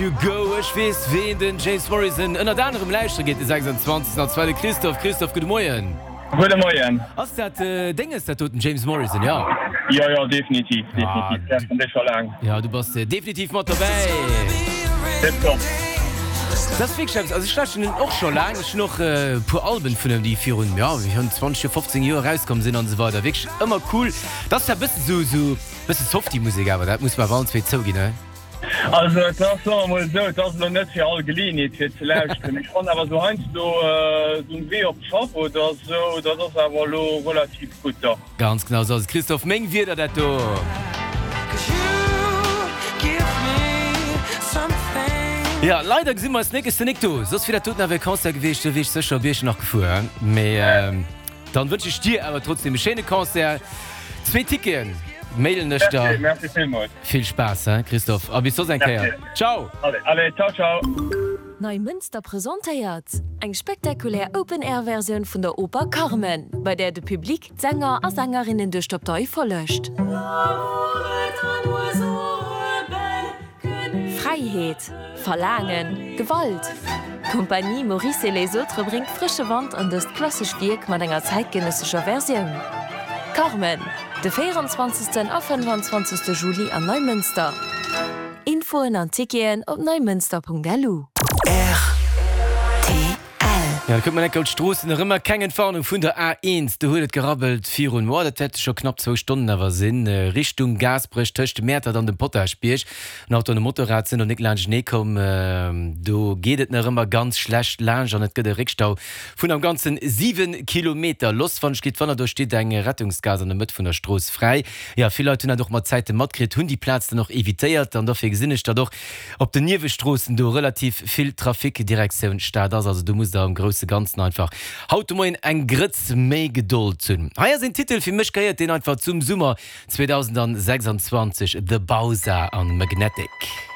You Go. Ech weess ween den James Morrison ënnert anerem lauschtere geet de 26. An zwar de Christophe. Christophe, gudde Moien. Gudde Moien. Ass dat Dénges dat doten, James Morrison, jo? Jo, jo, definitiv, definitiv. Lauschteren déi scho laang. Jo, du bass definitiv mat dobäi. Tip top. Dat ass wierklech eppes, also ech lauschteren en och scho laang. Ech hunn och e puer Alben vun em, déi virun, jo, virun 20 Joer, 15 Joer erauskomm sinn an esou weider. Wierklech ëmmer cool. Dat ass zwar e bëssen esou, esou e bësse softy Musek awer, dat muss mer awer allen zwee zouginn, he? Also et ass, soe mer mol esou, et ass elo net fir all Geleeënheet fir ze lauschteren. Ech fannen awer esou heiansdo esou um Wee op d'Schaff oder esou, dat ass awer elo relativ gutt, dach. Ganz genau esou ass et, Christophe. Meng Wierder, dat do. Jo, leider gesi mer eis nik. Ech sinn nik do, soss wier dat doten awer e Concert gewiescht, do wier ech sécher op Iechternach gefuer. Mee dann wënsch ech dir awer trotzdem e schéine Concert. Zwee Ticketen mailen ech der. Merci, merci villmools. Vill Spaass he Christophe a bis soss eng Kéier. Ciao! Allez, allez, ciao, ciao! Neimënster presentéiert eng spektakulär Open-Air-Versioun vun der Oper Carmen, bei där de Public d'Sänger a Sängerinnen duerch d'Abtei follegt. Fräiheet, Verlaangen, Gewalt, D'Compagnie Maurice et les autres bréngt frësche Wand an dëst klassescht Wierk mat enger zäitgenëssescher Versioun. Carmen, de 24. a 25. Juli an Neimënster. Infoen an Ticketen op neimënster.lu. Rtl. Jo, da kucke mer enk op d'Stroossen. Nach ëmmer keng Entwarnung vun der A1. Do huet et gerabbelt virun, oh, dat wäerte scho knapp zwou Stonnen awer sinn, Richtung Gaasperech tëscht dem Mäertert an dem Potaschbierg. En Auto an e Motorrad sinn do nik laanschtenee komm. Do geet et nach ëmmer ganz schlecht laanscht an et gëtt e Réckstau vun am Ganzen 7 Kilometer. Loss wann ech gitt wanner, do steet eng Rettungsgaass an der Mëtt vun der Strooss fräi. Jo, vill Leit hunn dat och mat Zäite matkritt, hunn déi Plaz dann och evitéiert an dofir gesinn ech, datt och Op den Niewestroossen do relativ vill Trafic Direktioun Stad ass, also do musst der am grousse Ganzen einfach haut de Moien eng Grëtz méi Gedold hunn. Hei ass een Titel, fir mech gehéiert deen einfach zum Summer 2026, The Bausa an Magnetic.